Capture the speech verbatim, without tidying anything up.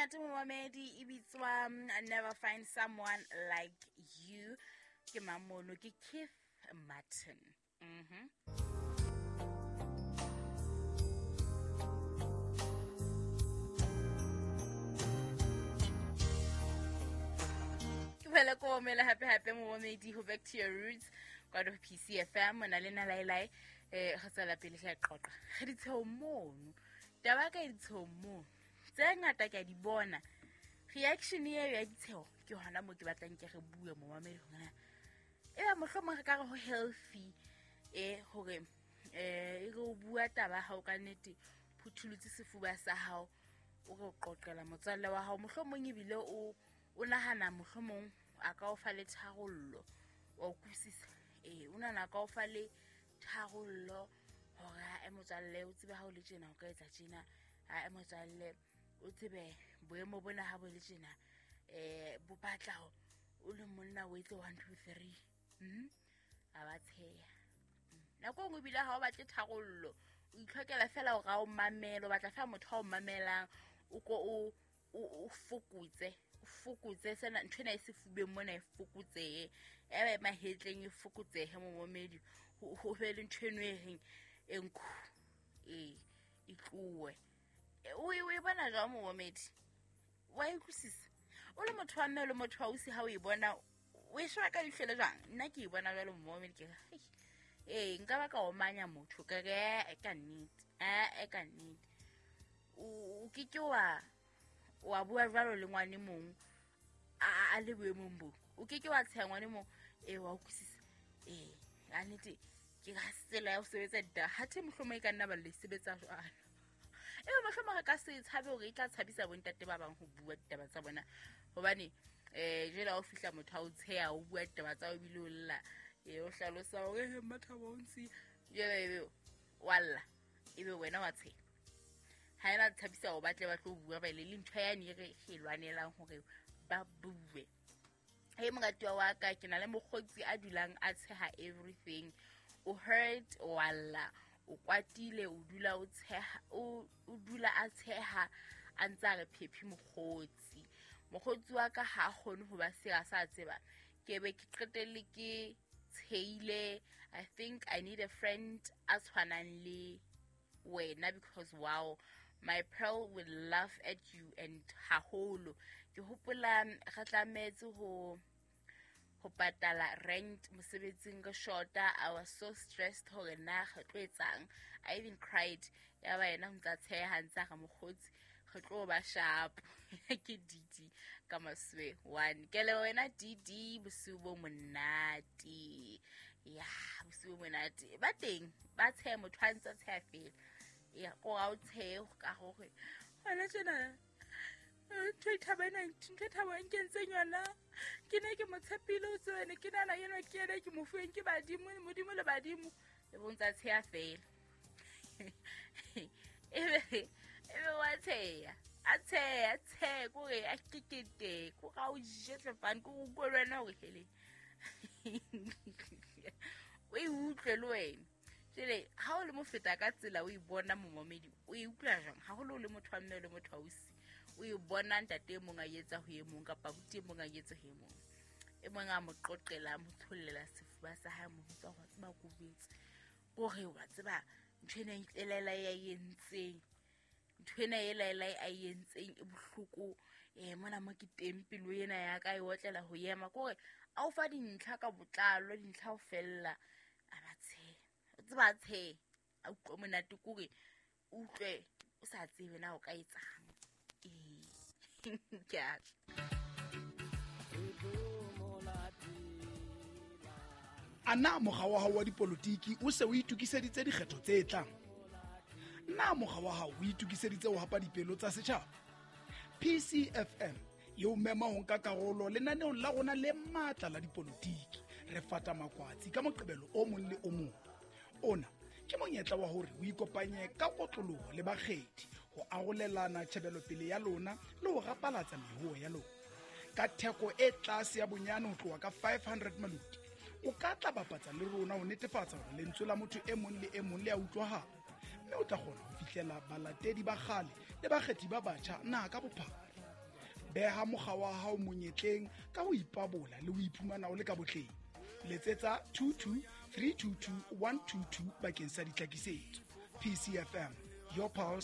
Monate momamedi e bitswa Never Find Someone Like You. Ke mamono ke Keith Martin. Mhm. Ke ko mela happy happy momamedi ho Back to Your Roots kwa do P C F M mona le na lailai eh go tswela pele tla qoqa. Re ditsheo mono. Taba ka ditsheo mono. Tse ngata ke a di bona. Reaction eo ya ditsheo ke hona mo ke batlang ke re bue momamedi hona. E ba mohlomong re ka re ho healthy eh hore eh e re o bua taba ha o ka nnete phuthulutse sefuba sa hao o re o qoqela motswalle wa hao mohlomong ebile o o nahana mohlomong a ka o fa le tharollo wa utlwisisa eh o nahana ka o fa le tharollo hore ha e motswalle o tsebe ha o le tjena o ka etsa tjena ha e motswalle o tsebe boemo bona ha bo le tjena eh bo batla o le monna o etse one two three mhm a ba tsheya nako nngwe ebile ha o batle tharollo o itlhokela fela hore a o mamele o batla fela motho a o mamelang o ko o o fokotse o fokotse sena ntho ena e sefubeng mona e fokotsehe e ba mahetleng e fokotsehe momamedi ho be le ntho eno e reng e nkhu e e tlowe o e bona jwang momamedi wa e utlwisisa o le motho wa mme o le motho wa ausi ha o e bona o e sheba ka leihlo le jwang nna ke e bona jwalo momamedi ke re ee nka ba ka omanya motho ka re e ka nnete e ka nnete o ke ke wa wa bua jwalo le ngwane mong a le boemong bo o ke ke wa tsheha ngwane mong ee wa utlwisisa ee ka nnete ke ka tsela ya ho sebetsa ditaba hathe mohlomong e ka nna ba le sebetsa jwalo ebe mohlomong re ka se tshabe hore e tla tshabisa bontate ba bang ho bua ditaba tsa bona hobane eh jwale ha o fihla motho a o tsheha o bua ditaba tsa o ebile o lla e o hlalosa hore he Mmathabo o ntsi jwale ebe wa lla ebe wena wa tsheha ha ena thabisa o batle ba tlo bua ba ile le ntho ya ne re e lwanelang hore ba bue he moratuwa wa ka ke na le mokgotsi a dulang a tsheha everything o hurt walla o kwatile o dula o tsheha o dula a tsheha a ntsa re phephi mokgotsi mokgotsi wa ka ha kgone ho ba sera sa tseba ke be ke qetelle ke tsheile. I think I need a friend a tshwanang le wena because wow my pearl will laugh at you and haholo ke hopola re tlametse ho ho patala rent mosebetsing ka shorta. I was so stressed hore na re tlo etsang. I even cried ya ba yena ntsa tsheha ntsa re mokgotsi re tlo ba sharp ke D D ka maswe one ke le wena D D bosiu bo monate ya bosiu bo monate ba teng ba tsheha motho a ntsa tsheha fela ya ko ga o tshehe ka gore hona tjena ntho e thabana ntho e thabo e nkentseng yona ke ne ke mo tshepile o tsene ke nana eno ke ene ke mo fuweng ke badimo modimo le badimo le bontsa tsheha fela ebe ebe wa tsheha a tsheha tsheha kore a kekete ko ga o jetle fane ko go le wena hore hele o e utlwe le wena jele ha o le mofeta ka tsela o e bona momamedi o e utlwa jwang haholo o le motho wa mme o le motho wa ausi o e bona ntate e mong a etsa ho e mong kapa buti e mong a etsa ho e mong e mong a mo qoqela mo tshollela sefuba sa hae mo bitsa hore tseba ko betse hore wa tseba ntho ena e tlelela ya entseng ntho ena e laela a entseng e bohloko eh mona mo ke teng pelo ena ya ka e otlela ho yema kore a o fa dintlha ka botlalo dintlha ho fella a ba tshe o tseba tshe a utlwe monate kore utlwe o sa tsebe na o ka etsang ee ke a Ana mokga wa hao wa dipolotiki o se o itokiseditse dikgetho tse tlang? Na mokga wa hao o itokiseditse ho hapa dipelo tsa setjhaba? P C F M e o mema ho nka karolo lenaneong la rona le matla la dipolotiki. Re fata makwatsi ka moqebelo o mong le o mong. Ona ke monyetla wa hore o ikopanye ka kotloloho le bakgethi ho arolelana tjhebelopele ya lona le ho rapalatsa mehoho ya lona. Ka theko e tlase ya bonyane ho tloha ka five hundred maluti, o ka tla bapatsa le rona ho netefatsa hore lentswe la motho e mong le e mong le a utlwahala, mme o tla kgona ho fihlela balatedi ba kgale le bakgethi ba batjha naha ka bophara. Beha mokga wa hao monyetleng ka ho ipabola le ho iphumana o le ka botleng. Letsetsa two two three two two one two two bakeng sa ditlhakisetso. P C F M, your pulse.